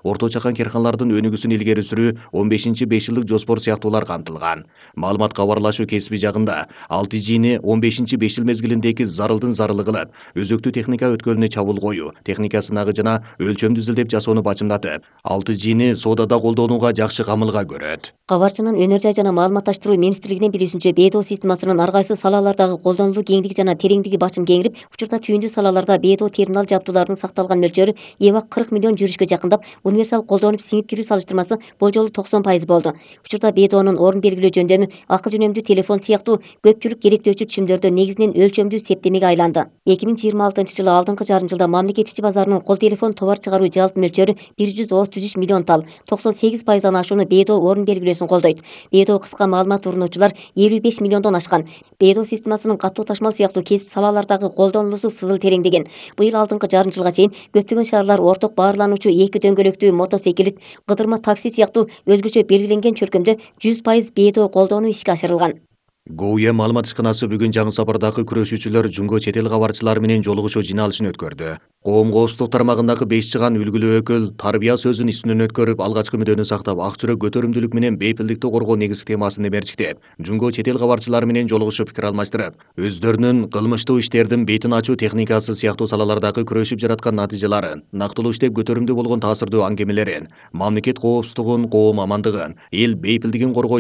орто чакан карханалардын өнүгүүсүн илгери сүрүү, 15-5 жылдык жоспор сыяктуулар камтылган. Маалымат кабарлашуу кесиби жагында 6G'ни 15-5 жыл мезгилиндеги зарылдын зарылы кылып, өзөктүү техника өткөлүнө чабуул коюу, техника сынагы жана өлчөмдү изилдеп жасоону бачымдатып, 6G'ни соодада колдонууга жакшы камылга көрөт. Кабарчынын Өнөр жай жана маалыматташтыруу министрлигинин билүүсүнчө, БДО системасынын ар кайсы салалардагы колдонулуу кеңдиги жана тереңдиги бачым кеңирип, учурда түйүндүү салаларда БДО терминал жабдууларынын сакталган мөлчөрү эбак 40 миллион жүрүшкө жакындап, универсал колдонуп сиңип кирүү салыштырмасы болжолу 90% болду. Учурда БДОнун орун белгилөө жөндөмү, акы жөнөмдүү телефон сыяктуу көпчүлүк керектөөчү түшүмдөрдө негизинен өлчөмдүү септемеге айланды. 2026-жылы алдыңкы жарым жылда мамлекет ичи базарынын кол телефон товар чыгаруу жалпы мөлчөрү 133 миллион тал, 98%-дан ашууну БДО орун белгилөөсүн колдойт. БДО кыска маалымат урунуучулар 55 миллиондон ашкан. БДО системасынын катуу ташмал сыяктуу кесип салалардагы колдонулуусу сызыл тереңдеген. Быйыл алдыңкы жарым жылга чейин көптөгөн шаарлар орток баарлануучу эки дөңгөлөктүү мотосекилит, кыдырма такси сыяктуу өзгөчө белгиленген чөлкөмдө 100% БДО колдонуу ишке ашырылган. ГОУЯ маалымат ишканасы бүгүн Жаңы Сапардагы күрөшүүчүлөр жунго чет эл кабарчылары менен жолугушуу жыйналышын өткөрдү. Коом коопсуздук тармагындагы 5 чыган үлгүлүү өкүл тарбия сөзүн үстүнөн өткөрүп, алгачкы мүдөнү сактап, ак жүрөк көтөрүмдүүлүк менен бейпилдикти коргоо негизги темасын мерчиктеп, жунго чет эл кабарчылары менен жолугушуп пикир алмаштырып, өздөрүнүн кылмыштуу иштердин бетин ачуу техникасы сыяктуу салалардагы күрөшүп жараткан натыйжаларын, нактылуу иштеп көтөрүмдүү болгон таасирдуу аңгемелерин, мамлекет коопсуздугун, коом амандыгын, эл бейпилдигин коргоо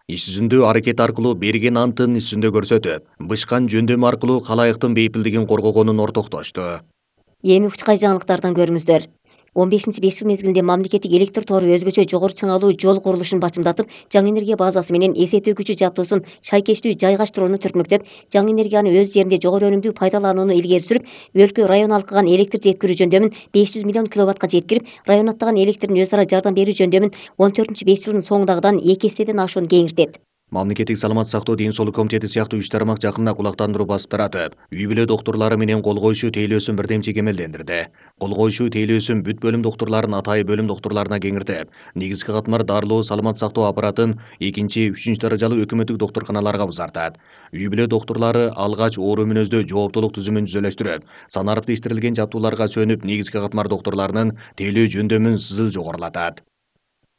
иш жүзүндө аракет аркылуу берген антын иш жүзүндө көрсөтүп, бышкан жөндөмү аркылуу калайыктын бейпилдигин коргогонун ортоктошту. Эми учкай жаңылыктардан көрүңүздөр. 15-5 жыл мезгилинде мамлекеттик электр тору өзгөчө жогору чыңалуу жол курулушун бачымдатып, жаңы энергия базасы менен эсептөө күчү жабдуусун шайкештүү жайгаштырууну түртмөктөп, жаңы энергияны өз жеринде жогору өнүмдүү пайдаланууну илгери сүрүп, өлкө район алкыган электр жеткирүү жөндөмүн 500 миллион киловаттка жеткирип, район аттаган электрдин өз ара жардам берүү жөндөмүн 14-5 жылдын соңундагыдан 2 эседен ашуун кеңиртет. Мамлекеттик саламат сактоо ден соолук комитети сыяктуу 3 тармак жакында кулактандыруу басып таратып, үй бүлө доктурлары менен кол коюшуу тейлөөсүн бирдемчи кемелдендирди. Кол коюшуу тейлөөсүн бүт бөлүм доктурларын атайы бөлүм доктурларына кеңиртип, негизги катмар дарылоо саламат сактоо аппаратын 2-3 даражалуу өкмөттүк доктурканаларга узартат. Үй бүлө доктурлары алгач оору мүнөздө жооптулук түзүмүн түзөлөштүрүп, санарип иштирилген жабдууларга сөнүп, негизги катмар доктурларынын тейлөө жөндөмүн сызыл жогорулатат.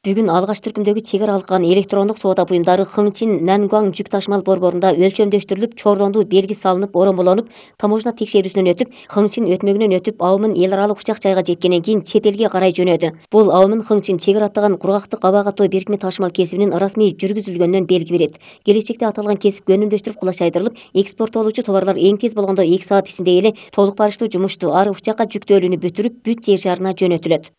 Бүгүн алгач түркүмдөгү чек ара алган электрондук соода буюмдары Хыңчин Нангуан жүк ташмал борборунда өлчөмдөштүрүлүп, чордондуу белги салынып, оромолонуп, таможня текшерүүсүнөн өтүп, Хыңчин өтмөгүнөн өтүп, Аумын эл аралык учак жайга жеткенден кийин чет элге карай жөнөдү. Бул Аумын Хыңчин чек ара аттаган кургактык аба катоо бирикме ташмал кесибинин расмий жүргүзүлгөнүнөн белги берет. Келечекте аталган кесип көнүмдөштүрүп кулачайдырылып, экспорттолуучу товарлар эң тез болгондо 2 саат ичинде эле толук барыштуу жумушту ар учакка жүктөөлүүнү бүтүрүп, бүт жер шарына жөнөтүлөт.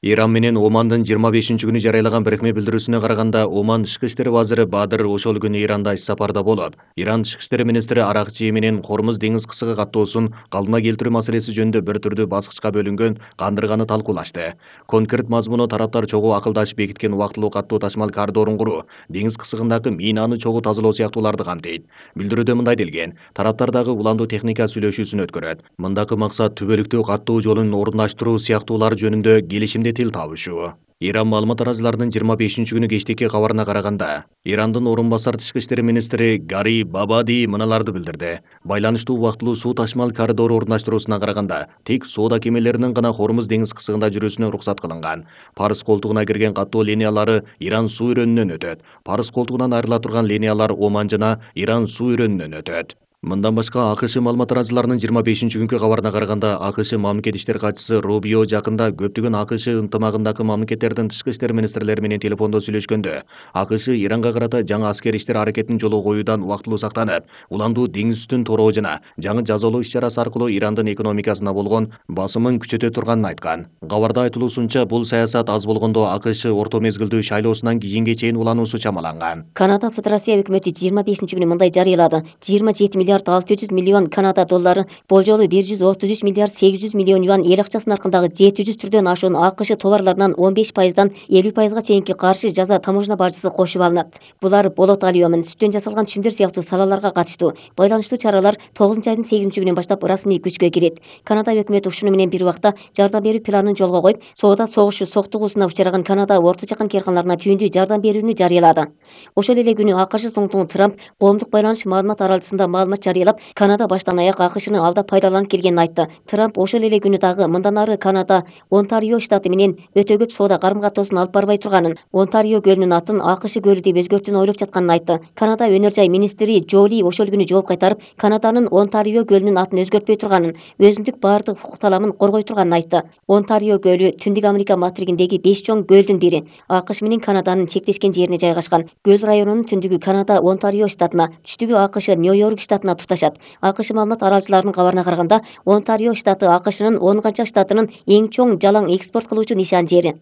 Иран менен Омандын 25-күнү жарыялаган бирикме билдирүүсүнө караганда, Оман тышкы иштер вазири Бадыр ошол күнү Иранда иш сапарда болуп, Иран тышкы иштер министри Аракчи менен Хормуз деңиз кысыгы каттоосун калдына келтирүү маселеси жөнүндө бир түрдүү баскычка бөлүнгөн кандырганы талкуулашты. Конкрет мазмуну тараптар чогуу акылдашып бекиткен убактылуу каттоо ташмал коридорун куруу, деңиз кысыгындагы минаны чогуу тазалоо сыяктууларды камтыйт. Билдирүүдө мындай делген: тараптар дагы уландуу техника сүйлөшүүсүн өткөрөт. Мындагы максат түбөлүктүү каттоо жолун орундаштыруу сыяктуулар жөнүндө келишимде тил табышуу. Иран маалымат тараачыларынын 25-күнү кечтеки кабарына караганда, Ирандын орун басар тышкы иштер министри Гари Бабади мыналарды билдирди. Байланыштуу убактылуу суу ташмал коридору орундаштыруусуна караганда, тек соода кемелеринин гана Хормуз деңиз кысыгында жүрүүсүнө уруксат кылынган. Парс колтугуна кирген каттоо линиялары Иран суу өрөөнүнөн өтөт. Парс колтугунан айрыла турган линиялар Оман жана Иран суу өрөөнүнөн өтөт. Мындан башка АКШ маалымат тараачыларынын 25-күнкү кабарына караганда, АКШ мамлекет иштер катчысы Рубио жакында көптөгөн АКШ ынтымагындагы мамлекеттердин тышкы иштер министрлери менен телефондо сүйлөшкөндө, АКШ Иранга карата жаңы аскер иштер аракетин жолго коюудан убактылуу сактанып, уландуу деңиз үстүн тороо жана жаңы жазалоо иш-чарасы аркылуу Ирандын экономикасына болгон басымын күчөтө турганын айткан. Кабарда айтылуусунча, бул саясат аз болгондо АКШ орто мезгилдүү шайлоосунан кийинге чейин улануусу чамаланган. Канада Федерация өкмөтү 25-күнү мындай жарыялады: 27 миллиард 600 миллион Канада доллары, болжолу 133 миллиард 800 миллион юан эл акчасынын аркындагы 700 түрдөн ашуун АКШ товарларынан 15%-дан 50%-га чейинки каршы жаза таможня бажысы кошуп алынат. Булар болот алюмин, сүттөн жасалган түшүмдөр сыяктуу салаларга катыштуу. Байланыштуу чаралар 9-айдын 8-күнүнөн баштап расмий күчкө кирет. Канада өкмөтү ушуну менен бир убакта жардам берүү планын жолго коюп, соода согушу соктугуусуна учураган Канада орто чакан карханаларына түйүндүү жардам берүүнү жарыялады. Ошол эле күнү АКШ Соңтугу Трамп коомдук байланыш маалымат аралыгында маалымат жарыялап, Канада баштан аяк АКШны алдап пайдаланып келгенин айтты. Трамп ошол эле күнү дагы мындан ары Канада Онтарио штаты менен өтө көп соода карым-катоосун алып барбай турганын, Онтарио көлүнүн атын АКШ көлү деп өзгөртүүнү ойлоп жатканын айтты. Канада өнөр жай министри Жоли ошол күнү жооп кайтарып, Канаданын Онтарио көлүнүн атын өзгөртпөй турганын, өзүндүк баардык укук таламын коргой турганын айтты. Онтарио көлү Түндүк Америка материгиндеги 5 чоң көлдүн бири. АКШ менен Канаданын чектешкен жерине жайгашкан. Көл районунун түндүгү Канада Онтарио штатына, түштүгү АКШ Нью-Йорк штатына туташат. АКШ маалымат аралчыларынын кабарына караганда, Онтарио штаты АКШнын 10 канча штатынын эң чоң жалаң экспорт кылуучу нишан жери.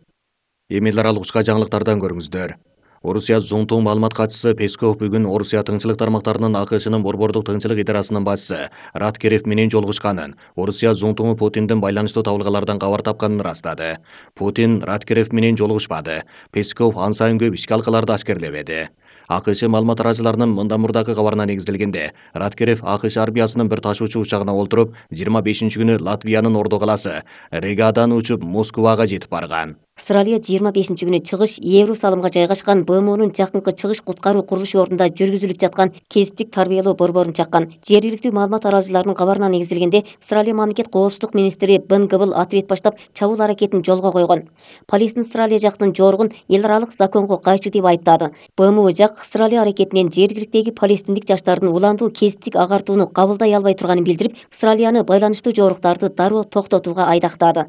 Эми эл аралык кышка жаңылыктардан көрүңүздөр. Орусия зуңтуң маалымат катчысы Песков бүгүн Орусия тыңчылык тармактарынын АКШнын борбордук тыңчылык идарасынын башчысы Раткерев менен жолугушканын, Орусия зуңтуңу Путиндин байланыштуу табылгалардан кабар тапканын ырастады. Путин Раткерев менен жолугушпады. Песков ан сайын көп ишке алкаларды ашкерлебеди. АКШ маалымат аралчыларынын мындан мурдагы кабарына негизделгенде, Раткерев АКШ армиясынын бир ташуучу учагына олтуруп, 25-күнү Латвиянын Орду каласы Ригадан учуп Москвага жетип барган. Австралия 25-күнү чыгыш Иерусалымга жайгашкан БМОнун жакынкы чыгыш куткаруу курулуш ордунда жүргүзүлүп жаткан кесиптик тарбиялоо борборун чаккан. Жергиликтүү маалымат аралчыларынын кабарына негизделгенде, Австралия мамлекет коопсуздук министри Бен Гыбыл отряд баштап чабуул аракетин жолго койгон. Полистин Австралия жактын жоругун эл аралык законго кайшы деп айыптады. БМО жак Австралия аракетинен жергиликтеги палестиндик жаштардын уландуу кесиптик агартууну кабылдай албай турганын билдирип, Австралияны байланыштуу жоруктарды дароо токтотууга айдактады.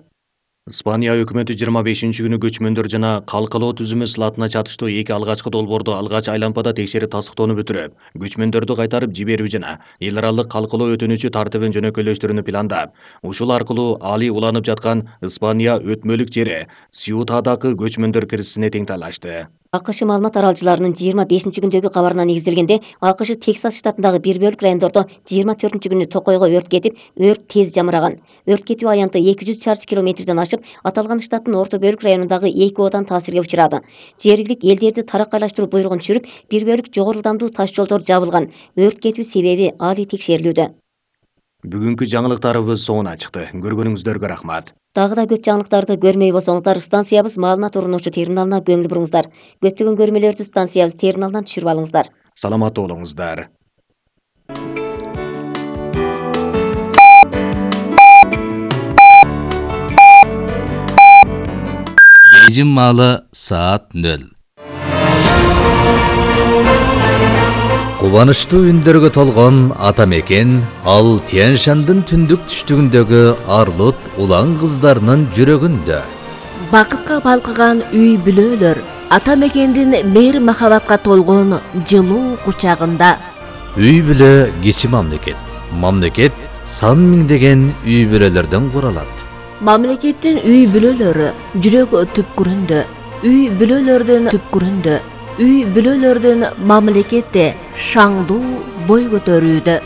Испания өкмөтү 25-күнү көчмөндөр жана калкалоо түзүмү сылатына чатыштуу 2 алгачкы долбоорду алгач айлампада текшерип тастыктоону бүтүрүп, көчмөндөрдү кайтарып жиберүү жана эл аралык калкалоо өтүнүчү тартибин жөнөкөйлөштүрүүнү пландап, ушул аркылуу али уланып жаткан Испания өтмөлүк жери Сьютадагы көчмөндөр киризисине тең талашты. АКШ маалымат аралчыларынын 25-күндөгү кабарына негизделгенде, АКШ Тексас штатындагы бир бөлүк райондордо 24-күнү токойго өрт кетип, өрт тез жамыраган. Өрт кетүү аянты 200 чарчы километрден ашып, аталган штаттын орто бөлүк районундагы 2 оодан таасирге учурады. Жергилик элдерди тараккайлаштыруу буйругун түшүрүп, бир бөлүк жогору ылдамдуу таш жолдор жабылган. Өрт кетүү себеби али текшерилүүдө. Бүгүнкү жаңылыктарыбыз соңуна чыкты. Көргөнүңүздөргө рахмат. Дагы да көп жаңылыктарды көрмөй болсоңуздар, станциябыз маалымат орунуучу терминалына көңүл буруңуздар. Көптөгөн көрмөлөрдү станциябыз терминалынан түшүрүп алыңыздар. Саламаттуу болуңуздар. Бейжин маалы саат 0. Кубанычтуу үндөргө толгон ата мекен, ал Тянь-Шандын түндүк түштүгүндөгү арлут улан кыздарынын жүрөгүндө. Бакытка балкыган үй бүлөлөр, ата мекендин мейир махабатка толгон жылуу кучагында. Үй бүлө кичи мамлекет. Мамлекет сан миңдеген үй бүлөлөрдөн куралат. Мамлекеттин үй бүлөлөрү жүрөк түпкүрүндө, үй бүлөлөрдүн түпкүрүндө, үй бүлөлөрдүн мамлекетте шаңдуу бой көтөрүүдө.